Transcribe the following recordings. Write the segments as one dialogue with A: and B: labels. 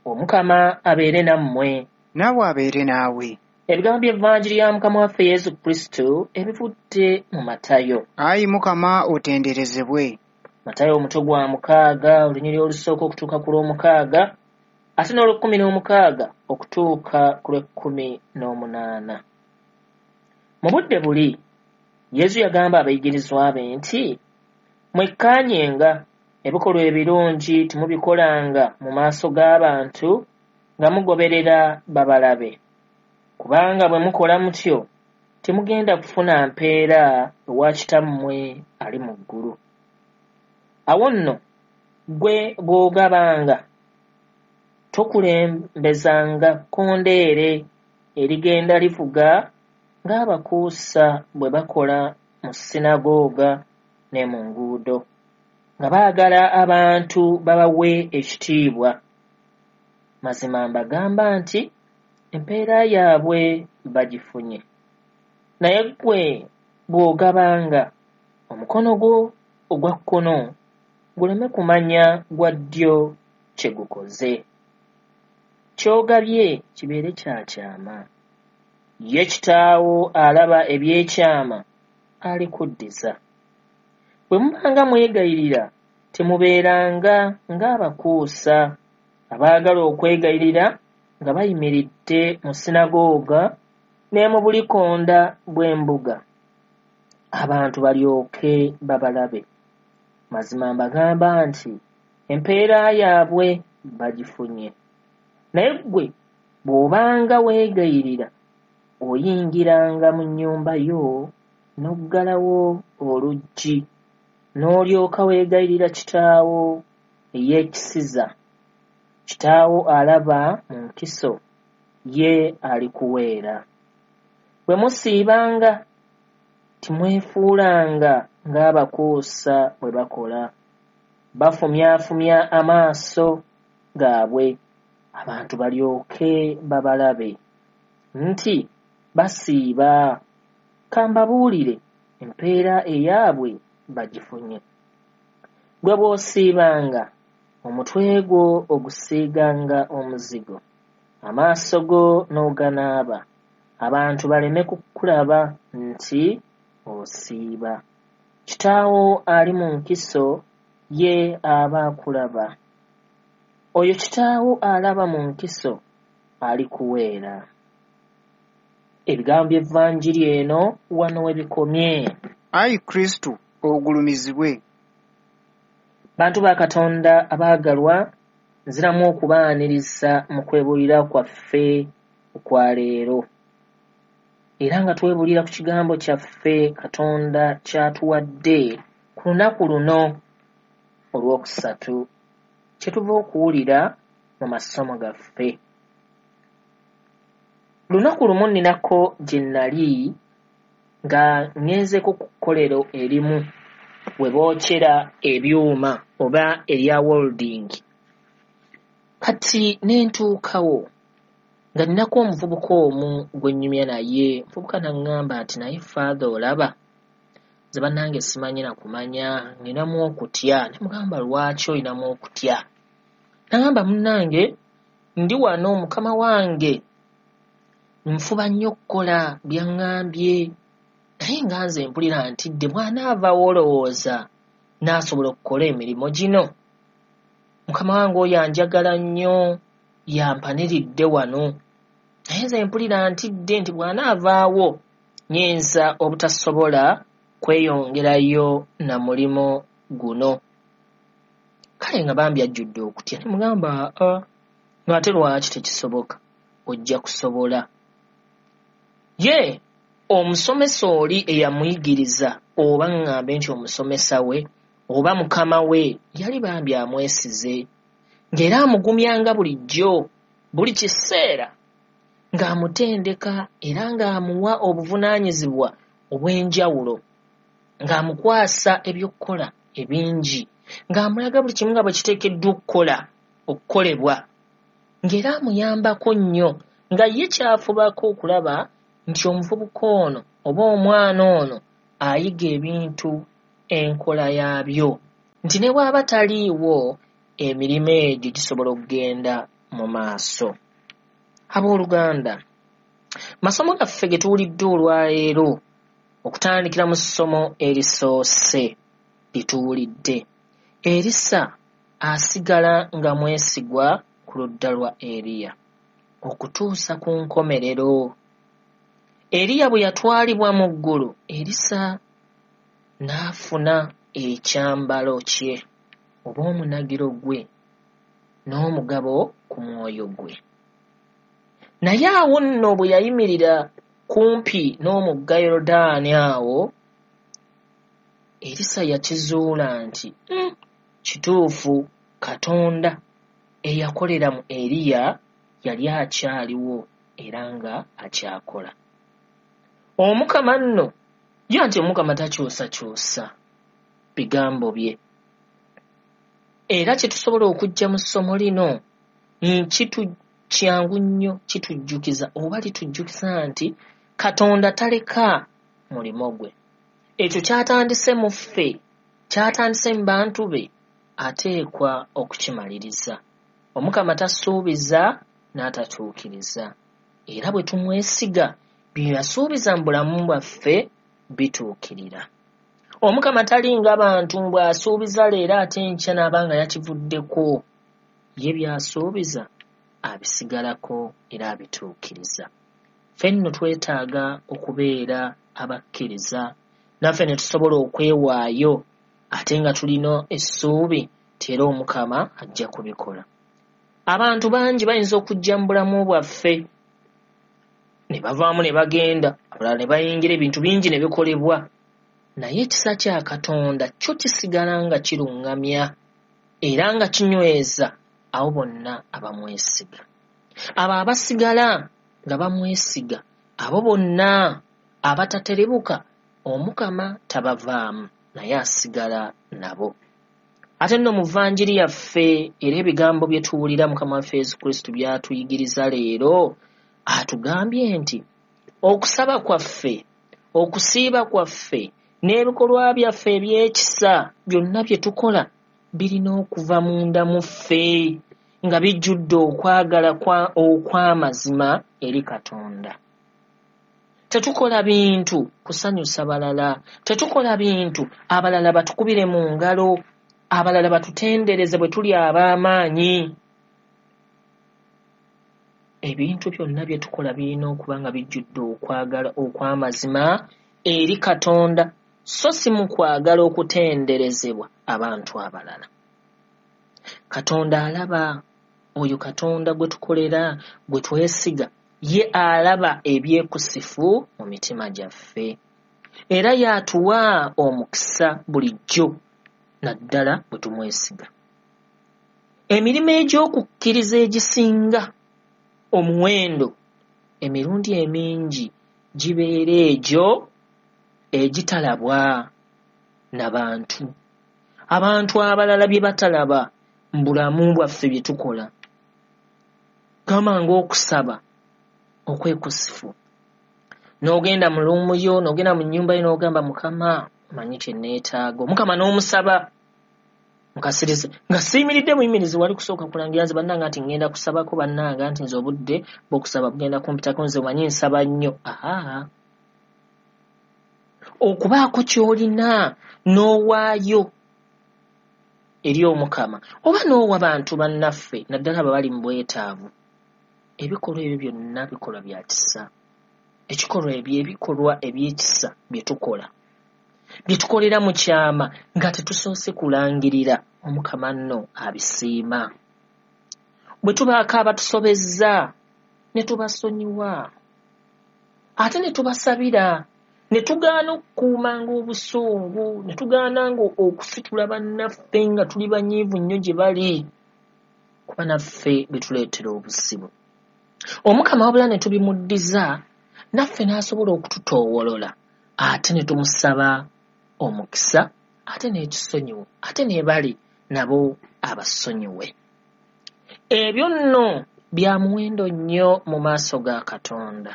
A: Omukama abeere nammwe.
B: Naawe abeere naawe.
A: Ebigambo by'Evanjiri ya Mukama waffe Yesu Kristo ebivudde mu Matayo.
B: Ayi Mukama otenderezebwe.
A: Matayo omutwe gwa 6, olunyiriri olusooka okutuuka ku lw'omukaaga, ate n'olw'ekkumi n'omukaaga okutuuka ku lw'ekkumi n'omunaana. Mu budde buli, Yesu yagamba abayigirizwa be nti, mwekkaanyenga ebikolwa ebirungi temubikolanga mu maaso g'abantu nga mugoberera babalabe. Kubanga bwe mukola mutyo, temugenda kufuna mpeera ewa Kitammwe ali mu ggulu. Awo nno ggwe bw'ogabanga, tokulembezanga kkondeere erigenda livuga ng'abakuusa bwe bakola mu ssinagooga ne mu nguudo, nga baagala abantu babawe ekitiibwa. Mazima mbagamba nti empeera yaabwe bagifunye. Naye ggwe bw'ogabanga, omukono gwo ogwa kkono guleme kumanya gwa ddyo kye gukoze. Ky'ogabye kibeere kya kyama. Ye Kitaawo alaba eby'ekyama alikuddiza. Bwe mubanga mwegayirira, temubeeranga ng'abakuusa abaagala okwegayirira nga bayimiridde mu ssinagooga ne mu bulikonda bw'embuga, abantu balyoke babalabe. Mazima mbagamba nti empeera yaabwe bagifunye. Naye ggwe bw'obanga weegayirira, oyingiranga mu nnyumba yo n'oggalawo oluggi, n'olyoka weegayirira Kitaawo eyeekisiza. Kitaawo alaba mu nkiso ye alikuweera. Bwe musiibanga, timwefuulanga ng'abakuusa bwe bakola. Bafumyafumya amaaso gaabwe, abantu balyoke babalabe nti basiiba. Ka mbabuulire, empeera eyaabwe bagifunye. Ggwe bw'osiibanga, omutwe gwo ogusiiganga omuzigo, amaaso go n'oganaaba, abantu baleme kukulaba nti osiiba. Kitaawo ali mu nkiso ye aba akulaba. Oyo Kitaawo alaba mu nkiso alikuweera. Ebigambo by'Evanjiri eno wano we bikomye.
B: Ayi Kristo ogulumizibwe.
A: Bantu ba Katonda abaagalwa, nziramu okubaaniriza mu kwebuulira kwaffe okwa leero. Era nga twebuulira ku kigambo kyaffe Katonda ky'atuwadde ku lunaku luno olwokusatu, kye tuva okuwulira mu masomo gaffe. Lunaku lumu nninako gye nnali nga ŋŋenzeeko ku kkolero erimu we bookyera ebyuma oba erya welding. Kati ne ntuukawo nga nninako omuvubuka omu gwe nnyumya naye, omuvubuka n'aŋŋamba nti naye Father olaba, nze bannange simanyi na kumanya, nninamu okutya. Ne mugamba lwaki olinamu okutya? N'aŋŋamba munnange ndi wano mukama wange nfuba nnyo okukola by'aŋŋambye, naye nga nze mpulira ntidde bw'anaavaawo olowooza n'asobola okukola emirimu gino. Mukama wange oyo anjagala nnyo, yampaniridde wano. Naye nze mpulira ntidde nti bw'anaavaawo nnyinza obutasobola kweyongerayo na mulimu guno. Kale nga bambi ajjudde okutya, ne mugamba aa, ng'ate lwaki tekisoboka, ojja kusobola. Ye omusomesa oli eyamuyigiriza oba ŋŋambe nti omusomesa we oba mukama we yali bambi amwesize, ng'era amugumyanga bulijjo buli kiseera ng'amutendeka era ng'amuwa obuvunaanyizibwa obw'enjawulo, ng'amukwasa eby'okukola ebingi, ng'amulaga buli kimu nga bwe kiteekeddwa okukola okukolebwa, ng'era amuyambako nnyo, nga ye ky'afubako okulaba nti omuvubuka ono oba omwana ono ayiga ebintu enkola yaabyo, nti ne bw'aba taliiwo emirimu egyo gisobola okugenda mu maaso. Abooluganda, masomo gaffe ge tuwulidde olwaleero okutandikira mu ssomo erisoose lye tuwulidde, Erisa asigala nga mwesigwa ku ludda lwa Eriya okutuusa ku nkomerero. Eriya bwe yatwalibwa mu ggulu, Erisa n'afuna ekyambalo kye oba omunagiro gwe n'omugabo ku mwoyo gwe. Naye awo nno bwe yayimirira kumpi n'omugga Yorodaani awo, Erisa yakizuula nti kituufu Katonda eyakolera mu Eriya yali akyaliwo era nga akyakola. Omukama nno ye nti Omukama takyusakyusa bigambo bye. Era kye tusobola okuggya mu ssomo lino kyangu nnyo kitujjukiza oba litujjukiza nti Katonda taleka mulimo gwe. Ekyo ky'atandise mu ffe, ky'atandise mu bantu be, ateekwa okukimaliriza. Omukama tasuubiza n'atatuukiriza. Era bwe tumwesiga, bye yasuubiza mu bulamu bwaffe bituukirira. Omukama talinga bantu bw'asuubiza leero ate enkya n'aba nga yakivuddeko. Ye by'asuubiza abisigalako era abituukiriza. Ffe nno twetaaga okubeera abakkiriza naffe ne tusobola okwewaayo ate nga tulina essuubi nti era Omukama ajja kubikola. Abantu bangi bayinza okujja mu bulamu bwaffe ne bavaamu ne bagenda, abalala ne bayingira, ebintu bingi ne bikolebwa. Naye ekisa kya Katonda kyo kisigala nga kiruŋŋamya era nga kinyweza abo bonna abamwesiga. Abo abasigala nga bamwesiga, abo bonna abataterebuka, Omukama tabavaamu naye asigala nabo. Ate nno mu Vanjiri yaffe era ebigambo bye tuwulira Mukama waffe Yesu Kristo by'atuyigiriza leero, atugambye nti okusaba kwaffe, okusiiba kwaffe n'ebikolwa byaffe eby'ekisa byonna bye tukola birina okuva munda mu ffe nga bijjudde okwagala okw'amazima eri Katonda. Tetukola bintu kusanyusa balala, tetukola bintu abalala batukubire mu ngalo, abalala batutendereze bwe tuli ab'amaanyi. Ebintu byonna bye tukola birina okuba nga bijjudde okwagala okw'amazima eri Katonda, so si mu kwagala okutenderezebwa abantu abalala. Katonda alaba, oyo Katonda gwe tukolera, gwe twesiga, ye alaba ebyekusifu mu mitima gyaffe. Era y'atuwa omukisa bulijjo, naddala bwe tumwesiga. Emirimu egy'okukkiriza egisinga omuwendo emirundi emingi gibeera egyo egitalabwa na bantu. Abantu abalala bye batalaba mu bulamu bwaffe bye tukola. Gamba ng'okusaba okwekusifu. N'ogenda mu luumu yo, n'ogenda mu nnyumba yo n'ogamba Mukama omanyi kye neetaaga. Omukama n'omusaba mukasirize nga siyimiridde muyimirizi wali kusooka kulangira nze bannange nti ŋŋenda kusabako bannange nti nze obudde bw'okusaba bugenda kumpitako nze omanyi nsaba nnyo. Aha. Okubaako ky'olina n'owaayo eri Omukama oba n'owa bantu bannaffe naddala abo abali mu bwetaavu. Ebikolwa ebyo byonna bikolwa bya kisa. Ekikolwa ebyo ebikolwa eby'ekisa bye tukola bye tukolera mu kyama nga tetusoose kulangirira, Omukama nno abisiima. Bwe tubaako abatusobezza ne tubasonyiwa ate ne tubasabira, ne tugaana okukuumanga obusungu, ne tugaananga okusitula bannaffe nga tuli banyiivu nnyo gye bali, kuba naffe bituleetera obuzibu. Omukama wabula ne tubimuddiza naffe n'asobola okututoowolola ate ne tumusaba omukisa ate n'ekisonyiwo ate ne bali nabo abasonyiwe. Ebyo nno bya muwendo nnyo mu maaso ga Katonda.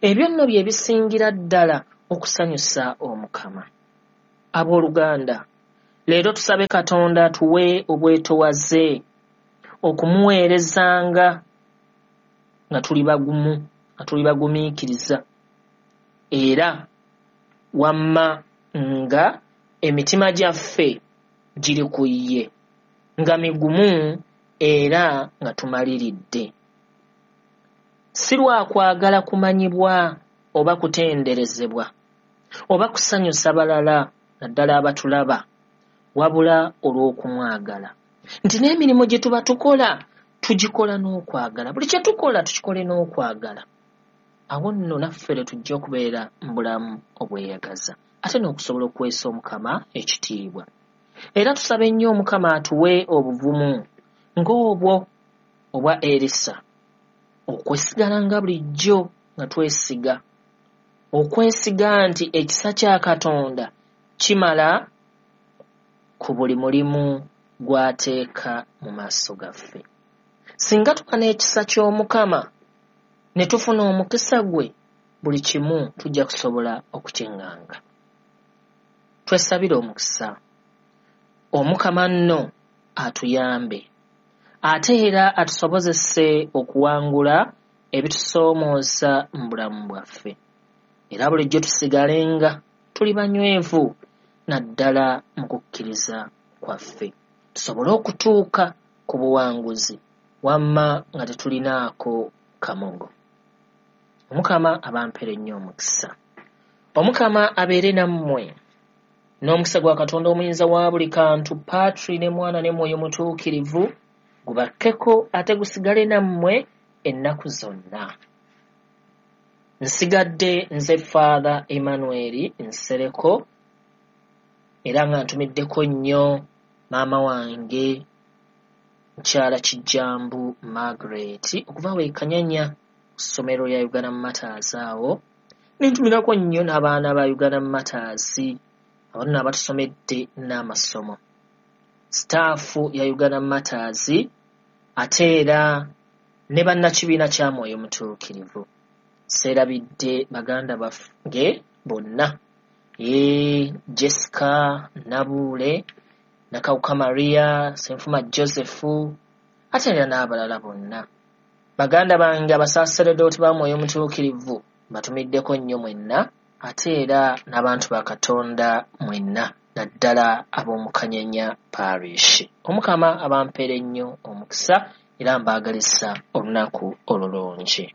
A: Ebyo nno bye bisingira ddala okusanyusa Omukama. Abooluganda, leero tusabe Katonda atuwe obwetowaze, okumuweerezanga nga tuli bagumu, nga tuli bagumiikiriza, era wamma nga emitima gyaffe giri ku ye, nga migumu era nga tumaliridde. Si lwa kwagala kumanyibwa oba kutenderezebwa oba kusanyusa balala naddala abatulaba, wabula olw'okumwagala. Nti n'emirimu gye tuba tukola tugikola n'okwagala. Buli kye tukola tukikole n'okwagala. Awo nno naffe lwe tujja okubeera mu bulamu obweyagaza ate n'okusobola okuweesa Omukama ekitiibwa. Era tusabe nnyo Omukama atuwe obuvumu ng'obwo obwa Erisa, okwesigala nga bulijjo nga twesiga, okwesiga nti ekisa kya Katonda kimala ku buli mulimu gw'ateeka mu maaso gaffe. Singa tuba n'ekisa ky'Omukama ne tufuna omukisa gwe, buli kimu tujja kusobola okukiŋŋanga. Twesabire omukisa. Omukama nno atuyambe ate era atusobozese okuwangula ebitusoomooza mu bulamu bwaffe. Era bulijjo tusigalenga tuli banywevu naddala mu kukkiriza kwaffe, tusobole okutuuka ku buwanguzi wamma nga tetulinaako kamogo. Omukama abampere nnyo omukisa. Omukama abeere nammwe. N'omukisa gwa Katonda omuyinza wa buli kantu, Patri ne Mwana ne Mwoyo Mutuukirivu, gubakkeko ate gusigale nammwe ennaku zonna. Nsigadde nze Father Emmanuel Nsereko, era nga ntumiddeko nnyo maama wange mukyala Kijjambu Margaret okuva we Kanyanya ku ssomero lya Uganda Martyrs awo, ne ntumirako nnyo n'abaana ba Uganda Martyrs abo nno abatusomedde n'amasomo, sitaafu ya Uganda Martyrs ate era ne bannakibiina kya Mwoyo Mutuukirivu. Seerabidde baganda bange bonna, Jessica Nabuule, Nakawuka Maria, Ssenfuma Joseph ate era n'abalala bonna. Baganda bange abasaaseredooti ba Mwoyo Mutuukirivu mbatumiddeko nnyo mwenna ate era n'abantu ba Katonda mwenna naddala ab'omu Kanyanya Parish. Omukama abampeere nnyo omukisa era mbaagalisa olunaku olulungi.